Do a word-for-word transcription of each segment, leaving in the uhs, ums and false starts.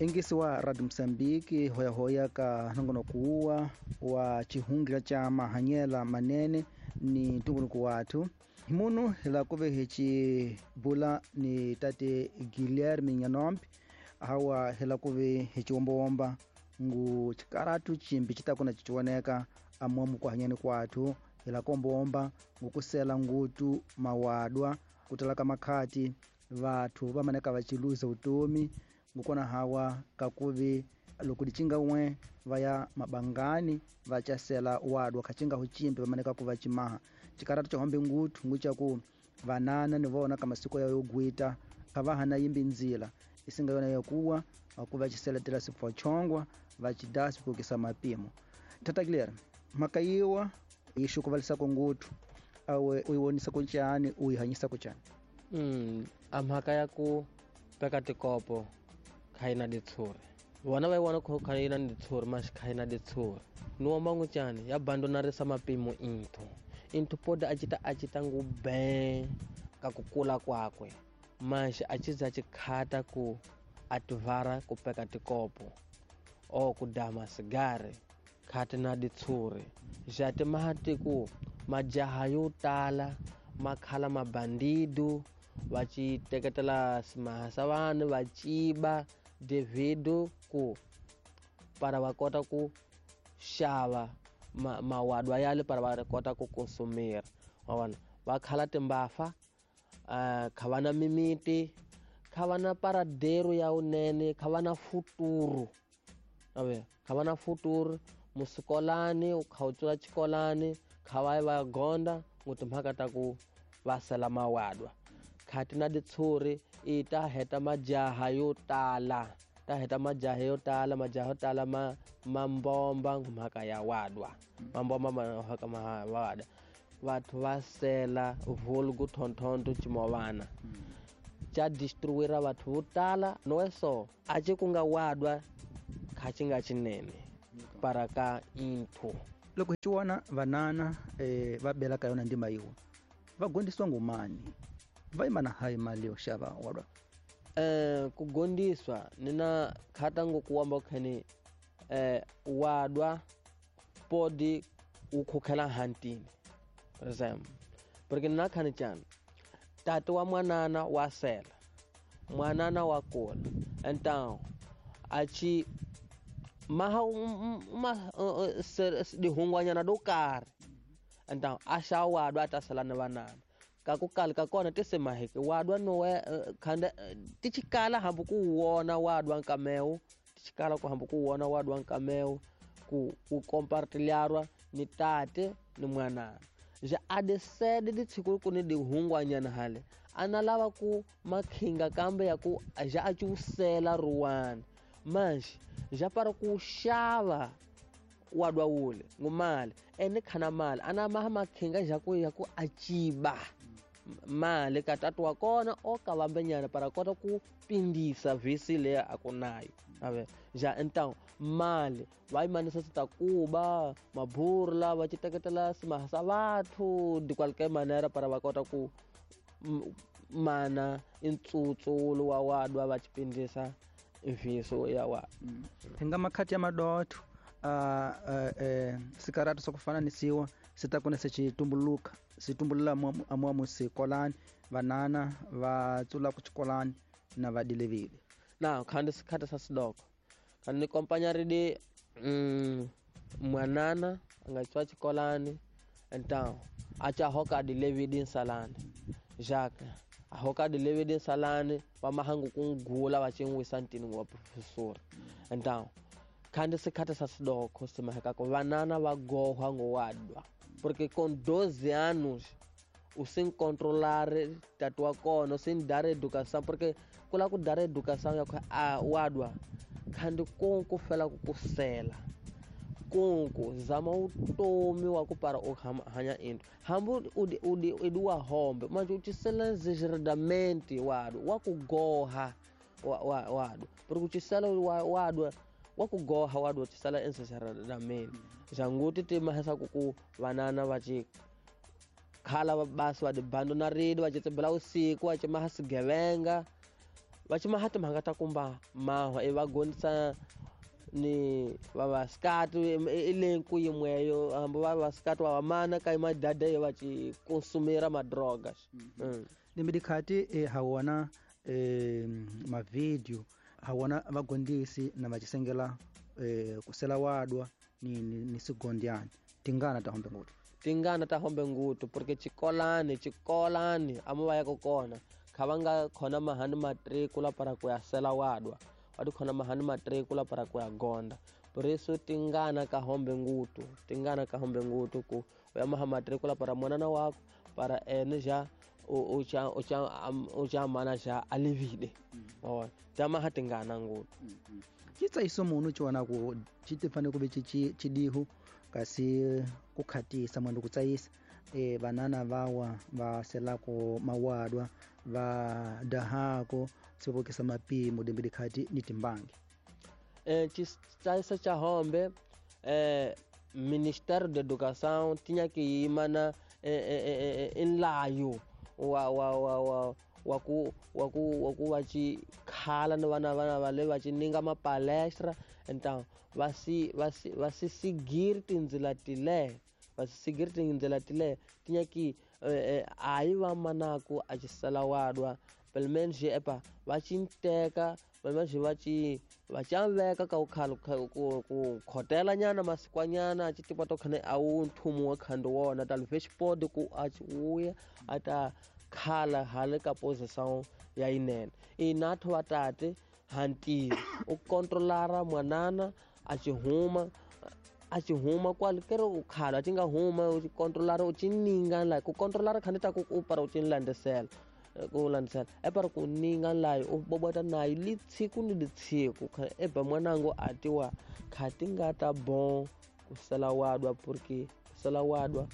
Ingisi wa Radio Msambiki hoyahoya ka nongonoko kuwa wa chihungira cha mahanyela manene ni ntumbuluko wathu himunu hila kuve hichi bula ni tate Guilherme Nyanombe hawa hila kuve hichiwombawomba ngu chikaratu chimbi chitakuna chichioneka amomu kuhanyani kwathu hila kombomba ngukusela ngutu mawadwa kutalaka makhati vathu vamaneka vachiluza utomi ngukona hawa kakuvi loko dichinga umwe vaya mabangani vachasela wadwa khachinga huchimbi vamaneka kuva chimaha chikaratu chahombe ngutu nguchaku vanana ni vona ka masiko ya yogwita kavahana yimbi nzila isinga yona yakuwa akuva chiseletela sipfochongwa vachidasi kukisa mapimo. Tata Guilherme, makayiwa yixukuvalisa ngutu awe uyiwonisa kuncani uyihanyisa kuncani? Mm, a mhaka ya ku peka tikopo kha ditshuri vona va yi vona kha kha yi na ditshuri maxi kha yi na ditshuri ni womba ngucani ya bandonarisa mapimo inthu inthu poda a cita a cita ngu be ka ku kula kwakwe maxi a ci za ci khata ku a tivara ku peka tikopo o ku dama sigari khati na ditshuri ja timahati ku majaha yo tala makhala mabandidu va ci teketela simaha sa vanhu va ciba devido ku para va kota ku xava ma, mawadwa yale para va kota ku konsumira wa vona va khala timbafa uh, kha va na mimiti kha va na paradero ya unene kha va na futuro ave kha va na futuro musikolani kha u tsula xikolani kha va va gonda ngu timhaka ta ku va sela mawadwa khati na ditshuri i ta heta majaha yo tala ta heta majaha yo tala majaha yo tala ma mambomba mhaka ya wadwa mambomba mhaka ma wadwa vathu va sela vulgu thonthonto chimovana cha distruira vathu vo tala noweso a ci ku nga wadwa kha ci nga cinene para ka inthu loko hi xiwona vanana eh, va bela ka yona ndima yiwa va gondisiwa ngumani va yimana hayi mali yo xava wadwa? Eh, ku gondiswa ni na khata ngo kuwamba khani eh, wadwa podi u khukhela hantini for example porque na khani chana tata wa mwanana wa sela mwanana wa kula então a ci maha ma dihungwanyana do karhi então a xa wadwa a ta sala ni vanana ka ku kala ka kona ti semaheke wadwa nowe khanda ti chikala hambi ku wona wadwa nkamewu ti chikala ku hambi ku wona wadwa nkamewu ku ku compartilharwa ni tate ni mwanana ja a decide di tshiku ku ni dihungwanyana hale a na lava ku makhinga kambe ya ku ja a ci wusela ruwani manje ja para ku xava wadwa wule ngumali ene khana mali ana maha makhinga ja ku ya ku a ciba mali ka tatu wa kona o ka vambenyana para kota ku pindisa vhisi leyi a ku nayo ave ja então mali va yimanisa sitakuba maburla va ci teketela simaha sa vathu de qualquer maneira para va kota ku mana intsutsu wa wadwa va ci pindisa mviso ya wa hi nga makhati ya madotho uh, uh, uh, sikaratu swa ku fana ni siwa swi ta kona se xi tumbuluka swi tumbulula amuamu sikolani vanana va tsula ku xikolani na va dilevile na khandi sikhati sa sidoko khandi ni kompanya ridi mm, mwanana a nga tswa xikolani então a cha hoka dilevidi nsalani jacques a hoka dilevidi nsalani va mahangu ku ngula va xin'wisa ntini wa professor então khandi sikhati sa sidoko simaheka ku vanana va gohwa ngowadwa porque com doze anos o sem controlar tatu wa kona sem dar educação porque kula ku dar educação ya a wadwa khandi konko fela ku kusela konko zama utomi wa ku para o hanya into hambu udi udi eduwa hombe manje utisela exageradamente wadwa wa ku goha wa wadwa porque utisela wadwa wa ku goha wadwa utisela exageradamente janguti ti mahesa ku ku vanana va ci khala va basi va dibando na ridi va ci tsibela usiku va ci maha swigevenga Va ci maha timhaka ta kumba mahwa i va gondisa ni vavasikati i lenku yimweyo hambi vavasikati va vamana ka madada yo va ci consumira madrogas. Limbe dikhati e ha wona e mavideo ha wona vagondisi na vacisengela e kusela wadwa ni ni, ni sigondiani tingana ta hombe ngutu tingana ta hombe ngutu porque chikolani chikolani amu va ya ko kona kha va nga khona mahani matrikula para ku ya sela wadwa va ti khona mahani matrikula para ku ya gonda. Por isso tingana ka hombe ngutu tingana ka hombe ngutu ku u ya maha matrikula para mwanana wako para ene ja u cha u cha u cha mana ja alivide wa ta maha tingana ngutu. Chitsaiso munhu chiwana ku chitifane ku ve chidihu kasi ku khatisa mwandu kutsayisa e banana vawa va selako mawadwa va dahako sivokisa mapimo dembe dikhati ni timbangi. Eh chitsayisa cha hombe eh Ministério da Educação tinha que ir mana eh eh nlayo wa wa wa wa wa ku wa ku wa ku va ci khala ni vana vana va le va ci ninga mapalestra então va si va si va si seguir tindzila tile va si seguir tindzila tile tinha que eh, aí va manaku a ci sala wadwa pelo menos epa va ci nteka pelo menos va ci va ci veka ka ukhala ku ku khotela nyana masikwanyana a ci tipa to khane a wu nthumu wa khando wona talvez pode ku a ci uya ata khala hale ka posição ya inene inatho vatate hanti u controlara mwanana a ci huma a ci huma kwale kero u khala a ci nga huma u controlara u ci ninga la ku controlara khane ta ku u para u ci landisela ku landisela e para ku ninga layo u bobota nayo litsiku ni litsiku e ba mwanango atiwa khati nga ta bon ku sala wadwa porque sala wadwa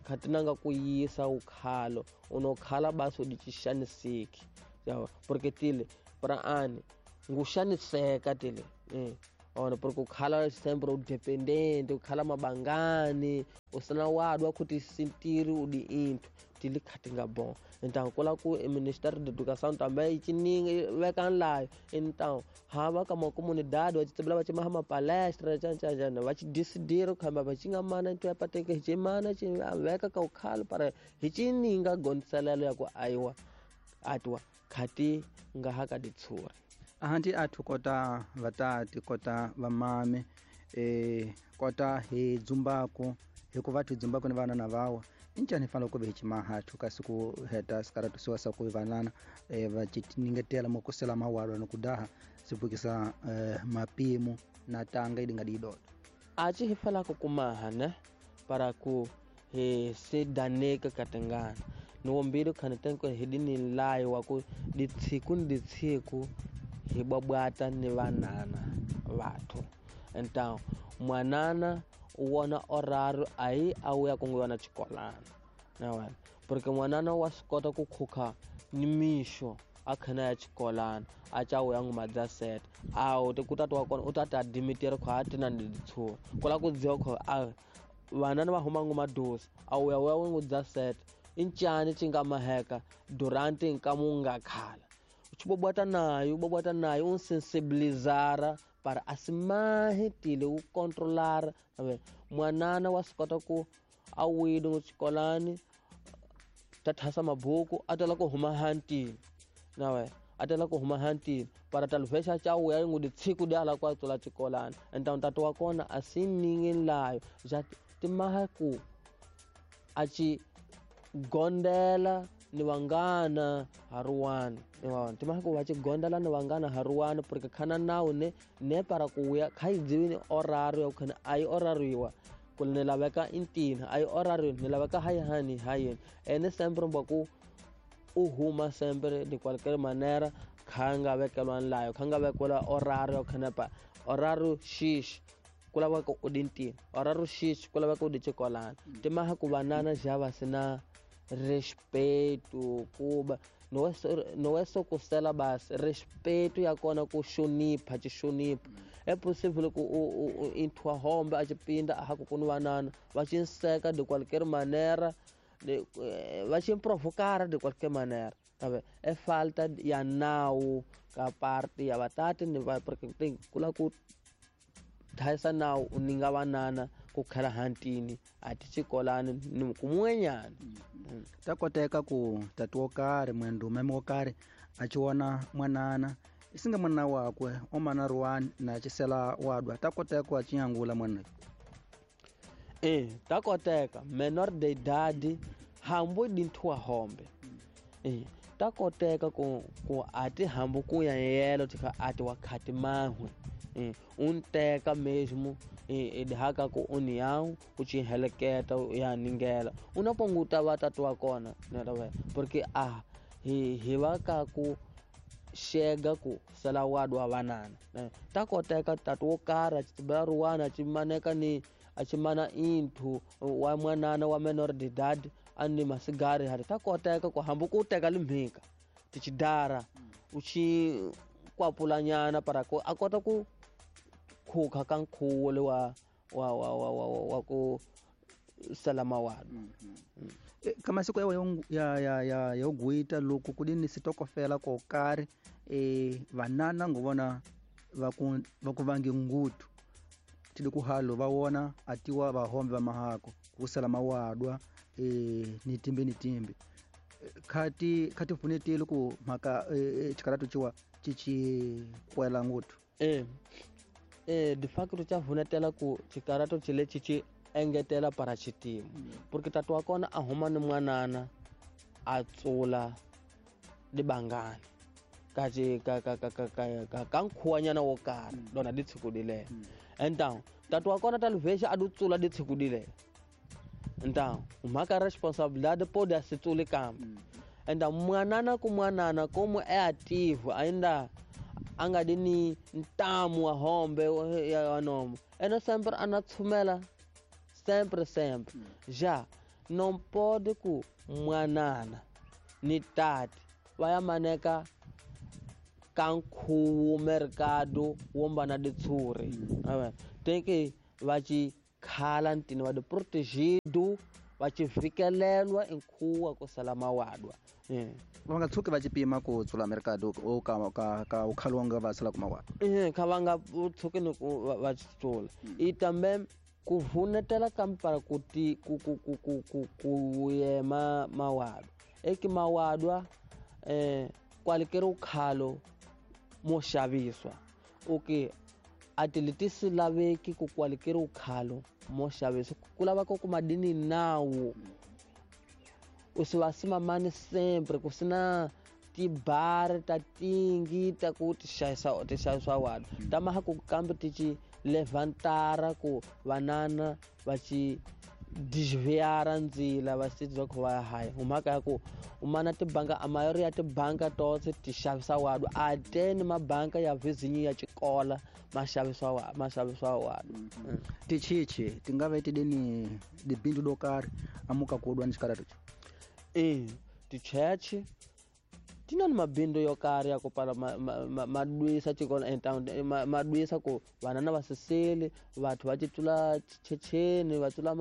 khati nanga ku yisa ukhalo unokhala baso dichishanisiki yawa porque tile para ani ngushaniseka tile eh ona porque ukhala sempre udependente ukhala mabangani usana wadwa kuti sintiri udi into tile khati nga bon. Então kula ku Ministério da Educação também chininga veka nlayo então hava ka comunidade va tsibela va ci maha mapalestra cha cha cha va ci decidir khamba va ci nga mana into ya pateke hi mana ci veka ka ukhala para hi chininga gondiselelo ya ku aiwa atwa khati nga haka ditsura. Ahanti athu kota vatati kota vamame eh kota hi dzumbako hikuva athu dzumbako ni vana na vawa injani fanele ku ve hi chimahathu kasi ku heta sikaratusiwa sa ku vanana eh va chiningetela mokusela mawalwa ni kudaha sivukisa eh, mapimo na tanga idinga didodo a ci hi falaka kumaha ne para ku hi se daneka katangana ni wombile khane tenko hi dini layo wa ku ditsiku ni ditsiku hi bwabwata ni vanana vathu. Então mwanana u wona horário aí a uya kunguva xikolana na wena porque mwanana wa swi kota ku khukha ni mixo a khana ya xikolana a ca wuya nguma dza set a wu ku tata wa kona u ta ta dimitiri kho a tina ni ditshuri ku la ku dziwa kho a vanana va huma nguma dosi a wuya wuya wu dza set i ncani ci nga maheka durante nkamu nga khala u bobota nayo u bobota nayo u sensibilizara para asimahi tile u controlar mwanana wa swi kota ku a wile xikolani ta thasa mabuku a tala ku huma hantini na wena a tala ku huma hantini para talvez cha wuya ngu ditsiku di ala kwa tsola xikolani então tata wa kona a si ningi layo ja timaha ku a ci gondela ni vangana haruwani ni timaha ku va ci gondela ni vangana haruwani porque khana nawu ne ne para ku wuya kha yi dziwini horário ya ku khana a yi horariwa ku ni laveka intina a yi horário ni laveka hayi hani hayini ene sempre mbwa ku u huma sempre de qualquer maneira kha nga vekeliwa nlayo kha nga vekeliwa horário ya ku khana pa horário xixi ku laveka u di ntina horário xixi ku laveka u di xikolana timaha ku vanana ja va si na respeito kuba não é só kusela basi respeito ya kona ku xonipha ci xonipha é possível ku u inthwa hombe a ci pinda a ku kuni vanana va ci nseka de qualquer maneira de va ci provocar de qualquer maneira. Tabe e falta ya nawu ka parte ya vatati ni va porque kula ku thayisa nawu u ninga vanana ku khala hantini a ti xikolani ni kumwenyana. Ta koteka ku tati wo karhi mwendume wo karhi a ci vona mwanana isinga mwana wakwe o mana ruwani na cisela wadwa ta koteka ku a ci nyangula mwana. Eh ta koteka menor de idade hambu dintwa hombe. Eh ta koteka ku ku ati hambu ku ya yelo tika ati wakati mahwe. Eh unteka mesmo e dihaka ku união u ci heleketa ya ningela unaponguta vatatu wa kona na porque a hi hi va ka ku xega ku sala wadwa vanana ta koteka tatu wo karhi a ci ruwana ci maneka ni a ci mana inthu wa mwanana wa menor de idade a ni masigari hari ta koteka ku hambu ku teka limhika tichidara u ci kwapulanyana para ku a kota ku khuka ka nkhuwo le wa wa wa wa wa wa ku salama wadwa. Ka masiku ya ya ya ya ya guita loko ku dini sitokofela ko karhi eh vanana ngovona va ku va ku vangi ngutu tidi ku halo va wona atiwa va hombe va mahako ku salama wadwa eh ni timbe ni timbe khati khati funetile ku mhaka xikaratu ciwa cici kwela ngutu eh eh de facto cha vunetela ku xikarato xi lexi xi engetela para xitimu porque tatu wa kona a huma ni mwanana a tsula libangani ka ka ka ka ka ka ka nkhuwanyana wo karhi lona di tshikudile. Então tatu wa kona talvez a do tsula di tshikudile. Então mhaka responsabilidade pode se tsule kambe. Então mwanana ku mwanana como é ativo ainda a nga di ni ntamu wa hombe ya nomo ena sempre ana tshumela sempre sempre já não pode ku mwanana ni tati va ya maneka ka nkhuwo mercado wombana ditshuri tem que va ci khala ntini va di protegido va ci fikelelwa nkhuwa ku sala mawadwa. Va nga tshuki va ci pima ku tsula mercado o ka ka ka ukhalonga va sala kuma wadwa. Eh kha va nga tshuki ni ku va ci tsula i também ku vunetela kampara ku ti ku ku ku ku ku ku yema mawadwa eki mawadwa eh kwalikeri ukhalo mo xaviswa okay ati letisi laveki ku kwalikeri ukhalo mo xaviswa ku lava ku kuma dini nawu u si va simamani sempre ku sina tibari ta tingi ta ku ti xavisa ti xavisa wadwa ta maha ku kambe ti ci levantara ku vanana va ci desviara ndzila va si bya ku va haya mhaka ya ku umana tibanka a mayoria ya tibanka totse ti xavisa wadwa a teni mabanka ya vizinyo ya xikola ma xavisa wa ma xavisa wadwa. Tichichi ti nga va ti dini dibindu do karhi amuka ku dwa ni xikaratu eh tichechi tina ni mabindu yo karhi ya ku pala madwisa xikolo então madwisa ku vanana va siseli vathu va titula checheni va tsula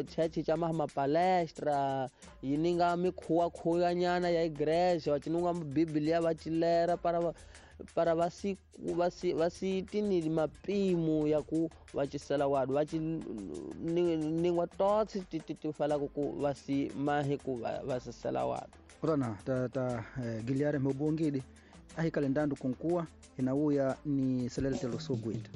chechi cha ma palestra yi ninga mikhuwa khuyanyana ya igreja va cinunga biblia va cilera para va para va si va si va si tini mapimo ya ku va cisela wadwa va ci ningwa totse ti ti falaku ku va si mahi ku va sisela wadwa. Kutana ta ta eh, Guilherme Mobongidi ahi kalendandu kunkuwa inauya ni selele telosoguita.